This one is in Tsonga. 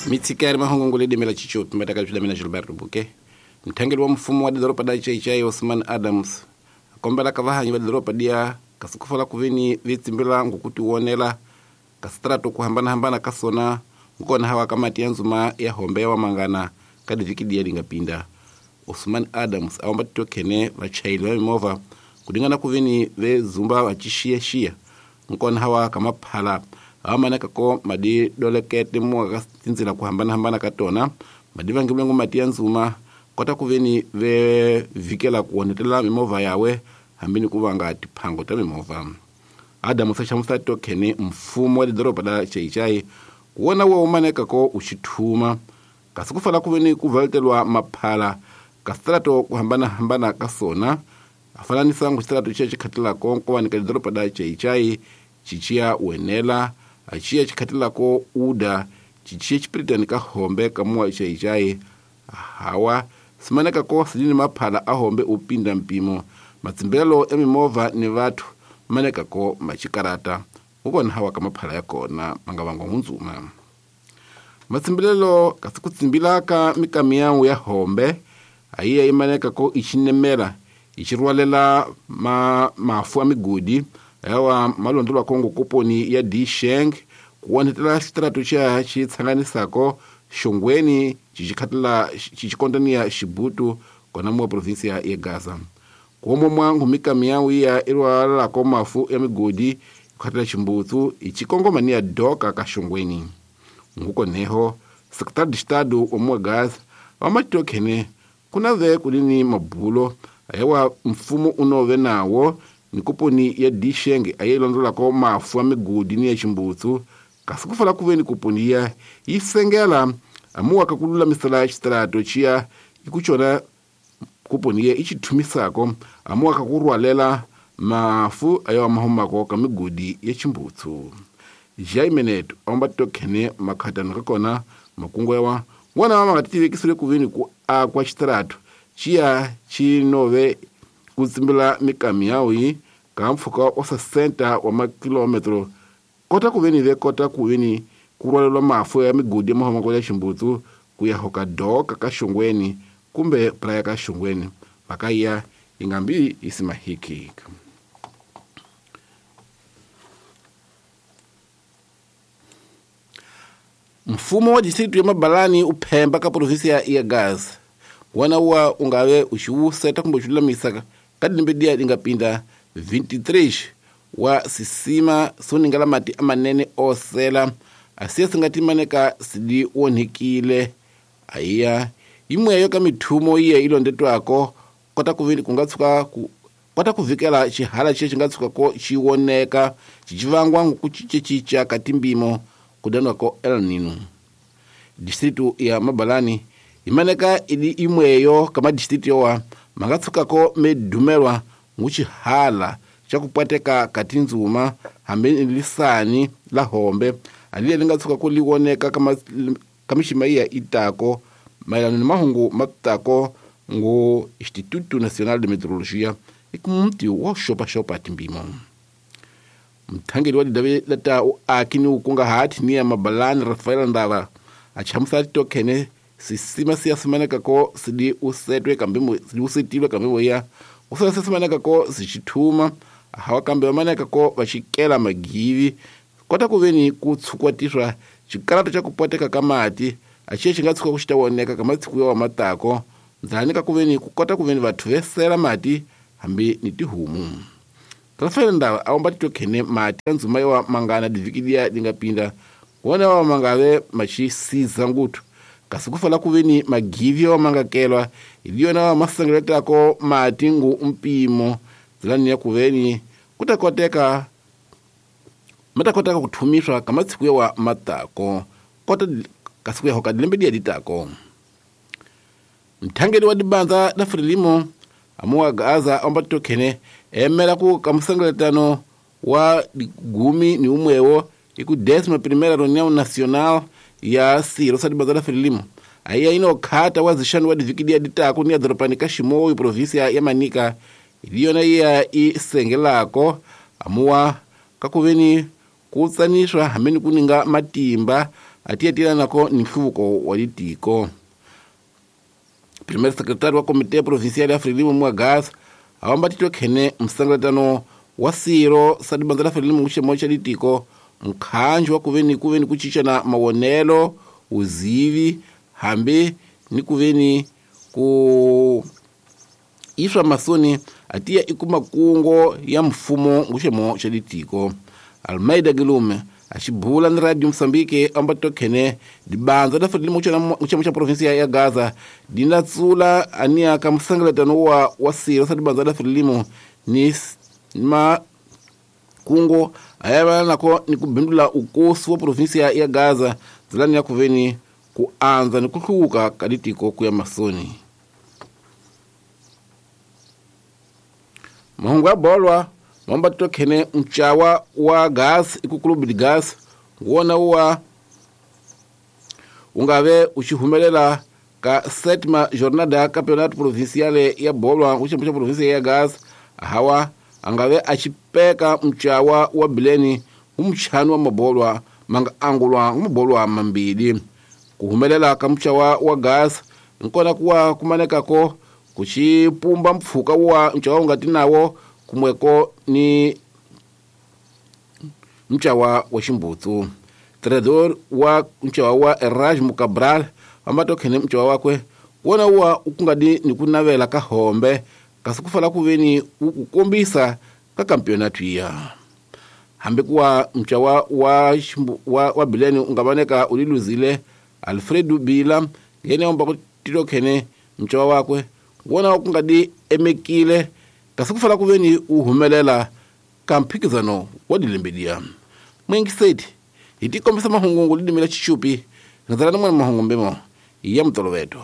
Mitsikari mahungu ledimela chichopi matakali mina Gilberto Buke. Mthangeli wa mfumo wa doroba da Chaichai Osman Adams akombela ka vahanyi va doroba dia kasikufola kuveni vitsimbila ngukuti wonela kastrato kuhambana-hambana kasona nkona hawa kamati ya nzuma ya hombe wa mangana kadi viki dia lingapinda. Osman Adams awamba tokene vachaili va mimovha kudingana kuveni vezumba vachishiya-shiya nkona hawa kamaphala awamaneka ko madi dolekete muwa tinzila kuhambana-hambana katona madi vangimulengo mati ya nzuma kota kuveni vevikela kuonetela mimovha yawe hambini kuvanga tiphango ta mimovha. Adamu sachamusa tokene mfumo wa doroba la Chaichai kuona wo umaneka ko uchithuma kasi kufala kuveni kuvaltelwa maphala kastrato kuhambana-hambana kasona afananisa ngustrato chiya chikhatilako nkovanika doroba la Chaichai chichiya wenela achiya chikhatilako uda chichiya chipiritani ka hombe kamuwa Chaichai hawa simaneka ko sidini maphala ahombe upinda mpimo matsimbelo ya mimovha ni vathu maneka ko machikarata ukona hawa kamaphala ya kona mangavangwa hundzuma matsimbelelo kasi kutsimbilaka mikamiyawu ya hombe ayiya imaneka ko ichinemela ichirwalela mafu a migodi yawa malondolwa kongo koponi ya Disheng kuonetela xitrato xa xitshanganisako Xongweni chichikhatela chichikondania Xibutu kona muwa provinsia ya Gaza. Kuomo mwangu mikamiyawu iya irwalako mafu ya migodi khatela Ximbutsu ichikongomania doka ka Xongweni. Nguko neho secretary de Estado wa muwa Gaza wamatokhene kuna ve kulini mabulo ayawa mfumo unove nawo ni kuponi ya Disheng ayilondolako mafu ya migodi ni ya Ximbutsu kasi kufala kuveni kuponi ya isengela amuwa kakululamisela xitrato chiya ikuchona kuponi ya ichithumisako amuwa kakurwalela mafu ayawa mahumako ka migodi ya Ximbutsu. Jaimeneto amba tokhene makhatano kakona makungu yawa ngwana wa mangatitivekisile kuveni ku akwa xitrato chiya chinove kutsimbila mikamiyawu ka mpfhuka wa 60 wa makilometro kota kuveni ve kota kuveni kurwalelwa mafu ya migodi ya mahumako ya Ximbutsu ku ya hoka doka ka Xongweni kumbe praya ka Xongweni makaya ingambi isimahiki. Mfumo wa distritu ya Mabalani uphemba ka provinsia ya Gaza wana wa ungave uxiwuseta kumbe uxilulamisa ka dilembe diya lingapinda 23 wa sisima soningala mati amanene osela asiya singatimaneka sidi onhikile aiya imweyo ka mithumo iye ilondetwako kota kuvini kungatsuka kota kuvikela xihala xiye xingatsuka ko xiwoneka xicivangwa ngukucicecica ka timbimo kudanwako El Nino. Distritu ya Mabalani imaneka ili imweyo kama distritu yowa mangatsukako medumelwa nguxihala xa kupwateka ka tindzuma hambi lisani la hombe aliye lingatsuka ko liwoneka ka mixima iya itako mayelana ni mahungu matako ngo Instituto Nacional de Meteorologia ikumti wa xopaxopa timbimo. Mthangeli wa didavi lata uaki ni ukungahati ni ya Mabalani Rafael Ndava achamusa tokhene sisima siyasimaneka ko sidi usetwe kambimo sidi usetilwe kambimo ya usasa simaneka ko sichithuma hawa kambe vamaneka ko vachikela magivi kota kuveni kutsukwatiswa xikalato xa kupwateka ka mati axiye xi nga tshuka ku xi ta voneka ka masiku ya wa matako ndzani ka kuveni ku kota kuveni vathu vesela mati hambi ni tihomu. Rafael Ndava awamba titokhene mati ya ndzuma yawa mangana diviki liya lingapinda wona wa mangave machisiza nguthu kasi kufala kuveni magivi yawa mangakelwa iliyona wa masengeletako mati ngu mpimo ndzilani ya kuveni kutakoteka matakotaka kuthumiswa ka masiku yawa matako kota kasi kuya hoka dilembe diya ditako. Mthangeli wa dibanza la Frelimo amuwa Gaza amba tokhene emela ku kamusengeletano wa gumi ni umwewo iku 11ª Reunião Nacional ya siro sa dibanza la Frelimo aiya inokhata wa zixanu wa diviki diya ditako ni ya doropani ka Ximoyo provinsia ya Manica iliyona iya isengelako amuwa kakuveni kutsaniswa hameni kuninga matimba a tiyetelanako ni nhluvuko wa litiko. Primeiro secretário wa Comitê Provincial ya Frelimo mu Gaza awamba titwe khene msangalatano wa siro sa dibanza la Frelimo kuxemo xa litiko mkhanjo wa kuveni kuveni ku cincana mawonelo uzivi hambi ni kuveni ku iswa masoni atiya ikuma kungo ya mfumo nguxemo xa litiko. Almeida Gilume axibula ni Radio Mozambique amba tokhene dibanza la Frelimo kuxemo xa provinsia ya Gaza dinatsula ania ka msangalatano wa siro sa dibanza la Frelimo ni makungo ayavana nako ni kubindula ukosi wa provinsia ya Gaza dzilani ya kuveni ku andza ni ku hluvuka ka litiko ku ya masoni. Mahungu ya bolwa mamba tokhene mchawa wa gas ikukulubi di gas wona wa ungave uchihumelela ka sétima jornada ya campeonato provincial ya bolwa kuxembu xa provinsia ya gas hawa angave achipeka mchawa wa bileni umchano wa mabolwa manga angulwa mabolwa mambili kuhumelela ka mchawa wa gas nkona kuwa kumanekako kuchipumba mpfuka wa mchawa ungati nawo kumweko ni mchawa wa ximbutsu. Treinador wa mchawa wa Erasmo Cabral amatokhene mchawa wakwe wona wa ukungadi ni kunavela ka hombe kasi kufala kuveni ukukombisa ka campeonato ya hambi kuwa mchawa wa bileni ungabaneka uliluzile Alfredo Bila ngene omba kutilokhene mchawa wakwe wona ukungadi emekile kasi kufala kuveni uhumelela ka mphikizano wa dilembedia. Mwingiseti hitikombisa mahungu lidimila chichupi nzala na mwana mahungu mbemo ya mtoloveto.